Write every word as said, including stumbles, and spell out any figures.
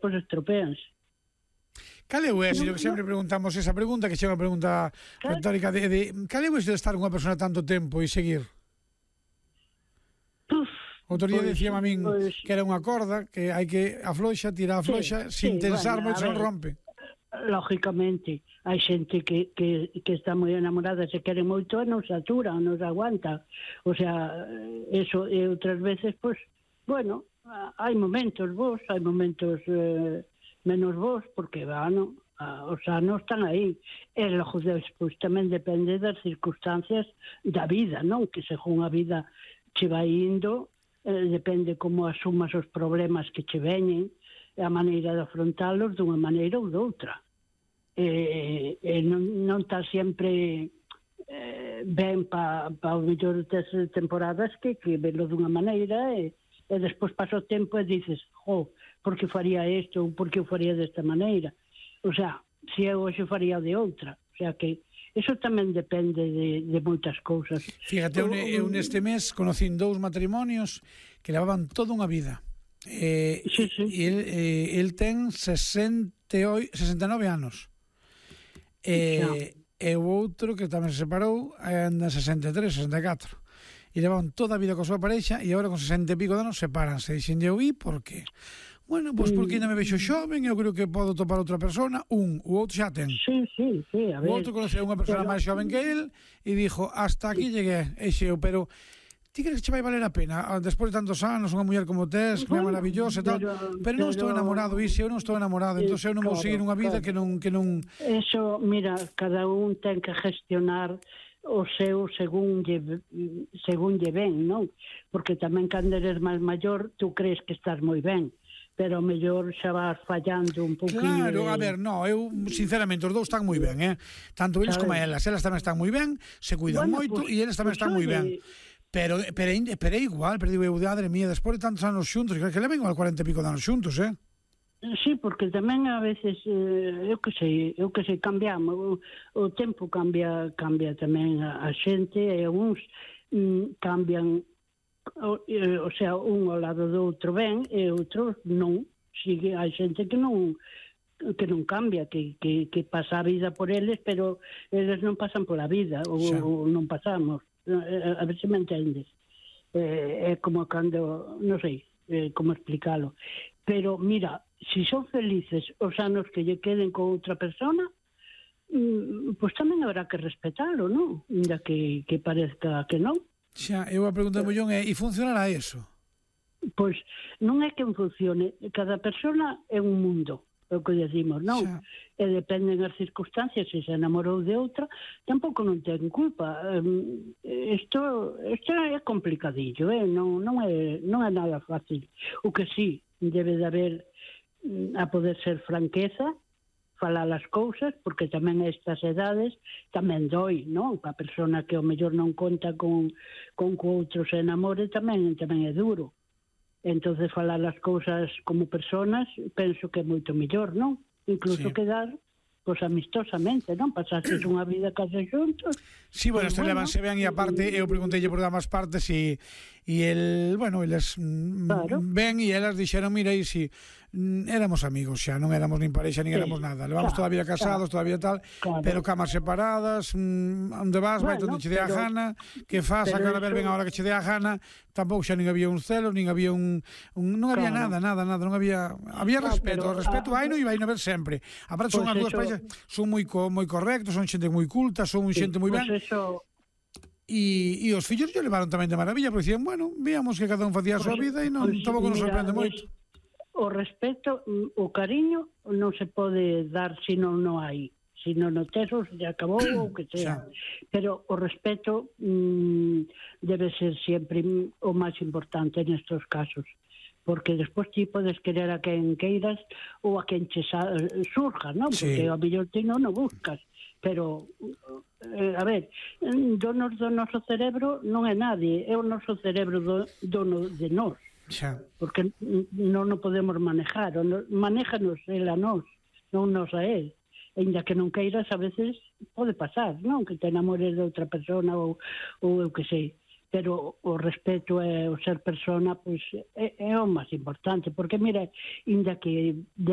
pois estropeanse. Cal é o éxito? Que sempre preguntamos esa pregunta, que xa é unha pregunta retórica de, de cal é o éxito de estar con unha persona tanto tempo e seguir? Puf, Outro día pois, dicía a min pois, que era unha corda, que hai que afloxa, tira afloxa, sí, sin sí, tensar bueno, moito, a non ver, rompe. lógicamente, hai xente que, que, que está moi enamorada, se quere moito e non se atura, non se aguanta. O sea, eso, e outras veces, pois, bueno, hai momentos bons, hai momentos eh, menos bons, porque, bueno, os anos están aí. E logo despois tamén depende das circunstancias da vida, non? Que según a vida che vai indo, eh, depende como asumas os problemas que che veñen, a maneira de afrontalos dunha maneira ou doutra. E, e non, non está sempre eh, ben para pa o mellor das temporadas que, que velo dunha maneira e, e despois pasa o tempo e dices, jo, por que faría isto ou por que o faría desta maneira? O sea, se eu hoxe faría de outra. O sea que eso tamén depende de, de moitas cousas. Fíjate, eu, eu neste mes conocín dous matrimonios que levaban toda unha vida. Eh, sí, sí. E el, eh, el ten sesenta e oito, sesenta e nove anos. E, e o outro que tamén se separou anda sesenta e tres, sesenta e catro. E levaban toda a vida coa súa parexa e agora con sesenta e pico de anos separanse. Dixen eu, e por qué? Bueno, pois pues porque ainda me vexo xoven, eu creo que podo topar outra persona. Un, o outro xa ten. Sí, sí, sí, a ver. O outro conoceu unha persona pero... máis xoven que el e dixo, hasta aquí llegué, e xeo, pero ti crees que che vai valer a pena? Despois de tantos anos, unha muller como tes, que é maravillosa e tal, pero, pero non estou enamorado, iso, eu non estou enamorado, entón eu non vou seguir unha vida que non, que non... Eso, mira, cada un ten que gestionar o seu según lle, según lle ben, non? Porque tamén cando eres máis maior, tú crees que estás moi ben, pero o mellor xa vas fallando un pouquinho. Claro, de... a ver, no, eu sinceramente os dous están moi ben, eh? Tanto eles como elas, elas tamén están moi ben, se cuidan bueno, moito pues, e eles tamén pues, están moi ben. Pero, pero, pero é igual, pero digo eu, madre mía, despois de tantos anos xuntos, que leven igual cuarenta e pico de anos xuntos, eh? Sí, porque tamén a veces, eh, eu que sei, eu que sei, cambiamos, o, o tempo cambia cambia tamén a, a xente, e uns mm, cambian, o, eh, o sea, un ao lado do outro ben, e outros non, sigue, hai xente que non que non cambia, que, que, que pasa a vida por eles, pero eles non pasan pola vida, ou, ou non pasamos. A ver se me entendes. Eh, é como cando, non sei eh, como explicalo, pero mira, se si son felices os anos que lle queden con outra persona, mm, pois tamén habrá que respetalo, non? Ainda que, que parezca que non. Xa, eu a pregunta do millón é, e funcionará eso? Pois non é que funcione, cada persona é un mundo, é o que decimos, non? Xa. E dependen as circunstancias, se se enamorou de outra, tampouco non ten culpa. Isto, isto é complicadillo, eh? non, non, é, non é nada fácil. O que sí, debe de haber a poder ser franqueza, falar as cousas, porque tamén a estas edades tamén doi, non? A persona que ao mellor non conta con, con que outro se enamore tamén, tamén é duro. Entonces falar as cousas como personas penso que é moito mellor, non? Incluso sí. Quedar pois amistosamente, non? Pasases unha vida case xuntos. Sí, bueno, isto bueno, levanse ben e aparte eu pregunteille por ambas partes e e el, bueno, eles claro. Ben e elas dixeron, mira, e si éramos amigos xa, non éramos nin parexa, nin sí. Éramos nada. Levamos claro, toda a vida casados, claro. Todavía tal, claro. Pero camas separadas, onde vas, bueno, vai onde che dé a gana, que faz a cara ver ben a hora que che dé a gana, tampouco xa nin había un celo, nin había un, un non había claro. nada, nada, nada, non había había claro, respeto, o respeto hai no e vai no ver sempre. Aparte son as dúas paixas, son moi co, moi correctos, son xente moi culta, son sí, xente moi ben. Pues eso... E, e os fillos yo levaron tamén de maravilla, porque dicían, bueno, víamos que cada un facía a súa vida e non, pues, tampouco nos sorprende moito. O respeto, o cariño non se pode dar se non non hai. Se non o teso, se acabou ou que sea. Pero o respeto mm, debe ser sempre o máis importante nestes casos. Porque despois ti podes querer a quen queiras ou a quen che surja, non? Porque sí. A mellor ti non o buscas. Pero, eh, a ver, donos do noso cerebro non é nadie, é o noso cerebro do, dono de nós. Xa. Porque non o podemos manejar, manéjanos el a nós, non nos a él. Ainda que non queiras, a veces pode pasar, non? Que te enamores de outra persona ou, ou eu que sei. Pero o respeto e o ser persona, pois, é, é o máis importante. Porque, mira, ainda que